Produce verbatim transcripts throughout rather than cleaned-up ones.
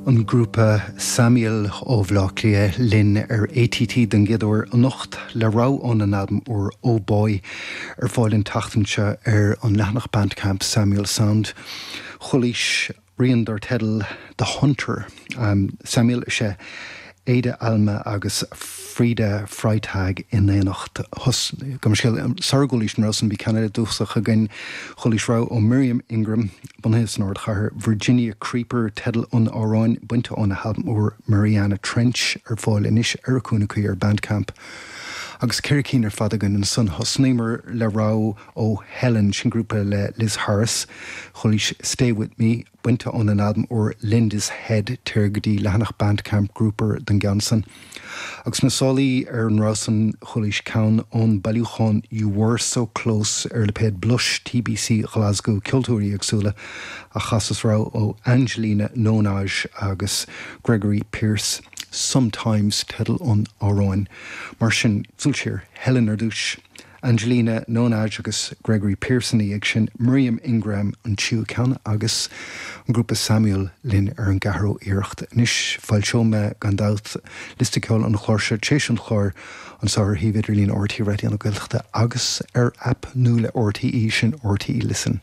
An grúpa Samuel ó Bhaile Átha Cliath linn ar ATT den gcéad uair anocht le rogha óna n-albam úr Oh Boy ar fáil an tseachtain seo ar an leathanach Bandcamp Samuel Sound. Chualaís rian dar teideal The Hunter. Um, Samuel is ea Ada Alma agus Frida Freitag in éineacht go sar a gcualaís an rogha san bhí ceann eile dúchasach againn chualaís rogha ó Miriam Ingram bunaithe san ardchathair Virginia Creeper teideal an amhráin bainte óna halbam úr Mariana Trench ar fáil anois ar a cúnna cuí ar Bandcamp. Agus ceithre cinn ar fad againn ansan thosnaíomar le rogha ó Helen sin grúpa le Liz Harris, chualaís Stay With Me bainte óna n-albam úr Linda's Head téir go dtí leathanach Bandcamp Grouper don gceann san. Agus na sálaí ar an rogha san chualaís ceann ón bailiúchán You Were So Close ar lipéad Blush TBC Glasgow ceoltóirí éagsúla a chas rogha ó Angelina Nonaj agus Gregory Pierce. Sometimes teideal an amhráin. Mar sin súil Helen ar dtús. Angelina Nonaj agus Gregory Pearson ag sin Miriam Ingram an tríú ceann agus an grúpa Samuel linn ar an gceathrú iarracht. Anois foilseoidh mé gan dabht liosta ceoil an chláir seo tar éis an chláir anseo ar shuíomh idirlín RTÉ Raidió na Gaeltachta agus ar aip nua le RTÉ sin RTÉ Listen.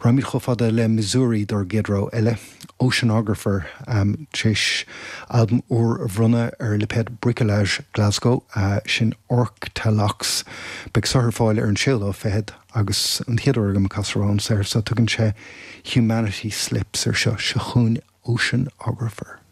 Rachaimid chomh fada le Missouri dár gcéad rogha eile, Oceanographer um, tar éis albam úr a bhronnadh ar lipéad Bricolage Glasgow uh, sin Orctalox. Beidh sé ar fáil ar an séú lá fichead agus an chéad uair agam casadh an saothar so tugann sé Humanity Slips ar seo seo chugainn Oceanographer.